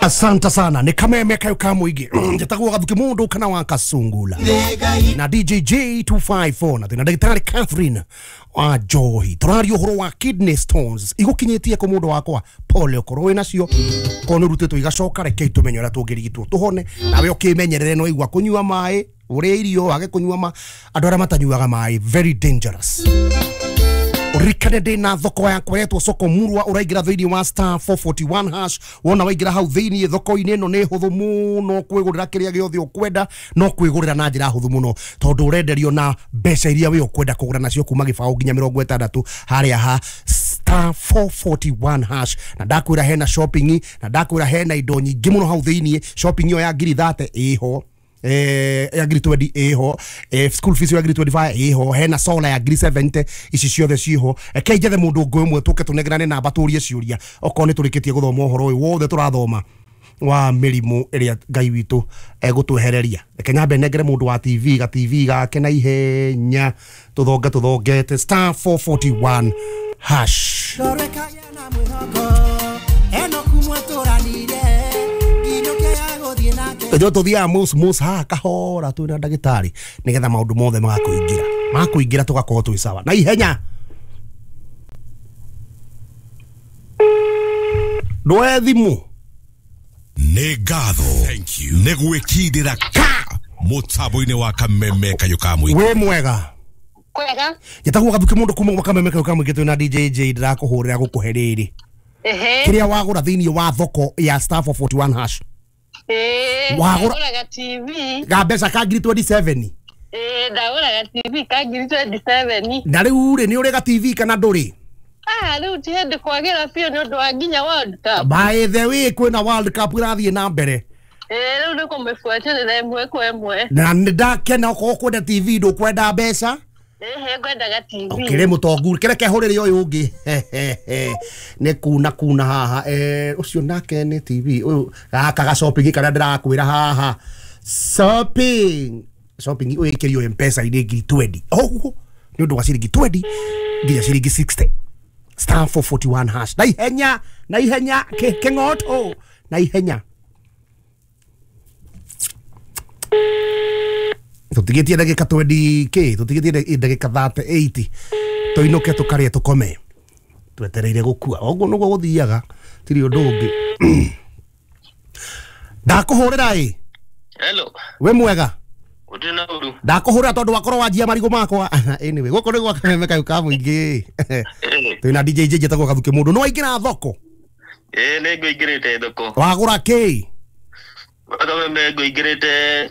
Asante sana nä kameme kayo ka mũingĩ. Njĩtagwo Gathuki mũndũ kana wa Kasungula na DJJ 254 na twĩna ndagĩtarĩ Catherine wa Njohi. Tũraria ũhoro wa kidney stones igũkinyĩtie kũ mũndũ wakwa, pole okorwo wĩ nacio, korwo nĩ ũrutĩtwo igacoka, rekei tũmenye ũrĩa tũngĩrigitwo tũhone. Nawe ũkĩmenyerere, no igua kũnyua maĩ, ũrĩe irio, wage kũnyua ma andũ arĩa matanyuaga maĩ, very dangerous. Ũririkane ndĩ thoko yakwa yetwo Soko Murwa. Ũraingĩra thĩinĩ wa *441# wona waingĩra hau thĩinĩ thoko-inĩ ĩno nĩ hũthũ mũno kwĩgũrĩra kĩrĩa gĩothe ũkwenda, no kwĩgũrĩra na njĩra hũthũ mũno tondũ ũrenderio na mbeca iria we ũkwenda kũgũra nacio kuma gĩbaũ nginya 60 harĩa ha *441#. Na ndakwĩra hena shopping, na ndakwĩra hena indo nyingĩ mũno hau thĩinĩ. Shopping ĩyo ya ngiri 30 ĩho, ya ngiri 20 ĩho, school fees ya ngiri 25 ĩho, hena solar ya ngiri 70, ici ciothe ciho. Reke njethe mũndũ ũngĩ ũmwe tũke tũnengerane namba tũrie ciũria okorwo nĩ tũrĩkĩtie gũthoma ũhoro ũyũ wothe tũrathoma wa mĩrimũ ĩrĩa Ngai witũ egũtwehereria. Reke nyambe nengere mũndũ wa TV ga TV gake na ihenya tũthonge tũthongete *441#. Rorekagia na mwĩhoko enoku mwatũranire nginũkia ya gũthiĩ nake. Ithuĩ tũthiaga mus mus haha kahora twĩna ndagĩtarĩ nĩgetha maũndũ mothe magakũingĩra makũingĩra tũgakorwo twĩ sawa na ihenya. Ndwoe thimũ. Nĩ ngatho nĩ gwĩkindĩra ka mũtambo-inĩ wa kameme kayũ ka mũingĩ. Wĩ mwega? Kwega. Njĩtagwo Gathuki mũndũ kuma gwa kameme kayũ ka mũingĩ twĩna DJJ. Ndĩrakũhũrĩra gũkũhe rĩrĩ kĩrĩa wagũra thĩinĩ wa thoko ya *441#. Wagũra- Ndagũraga TV. Ga mbeca ka ngiri 27. Ndagũraga TV ka ngiri 27. Na rĩu rĩ, nĩ ũrĩ ga TV kana ndũrĩ? Ah, rĩu ti hĩndĩ kwagĩra biũ nĩ ũndũ wa nginya World Cup. By the way, kwĩna World Cup ĩrathiĩ na mbere. Rĩu nĩ kũmĩbuatĩrĩra ĩmwe kwa ĩmwe. Na nĩ ndakena okorwo kwenda TV ndũkwenda mbeca. Ngwendaga TV. Ũkĩrĩ mũtongu, kĩreke hũrĩre ũyũ ũngĩ nĩ kuna kuna haha. Ũcio nake nĩ TV ũyũ gaka ga shopping karĩa ndĩrakwĩra haha, shopping shopping ũyũ ĩkĩrio M-Pesa-inĩ ngiri 20 ũguo nĩ ũndũ wa ciringi 20 nginya ciringi 60, *441# na ihenya na ihenya kĩng'oto na ihenya. Tũtigĩtie ndagĩka 20 kĩ, tũtigĩtie ndagĩka 38 tũinũke tũkarĩe tũkome twetereire gũkua. Ũguo nĩguo gũthiaga, tirĩ ũndũ ũngĩ. Ndakũhũrĩra ĩ. Hello, Wĩ mwega? Gũtirĩ na ũru. Ndakũhũrĩra tondũ wakorwo wanjia marigũ makwa. Anyway, gũkũ nĩ gwa kameme kayũ ka mũingĩ. Twĩna DJ njĩtagwo Gathuki mũndũ. No waingĩra thoko? Nĩ ngũingĩrĩte thoko. Wagũra kĩ? Kameme ngũingĩrĩte.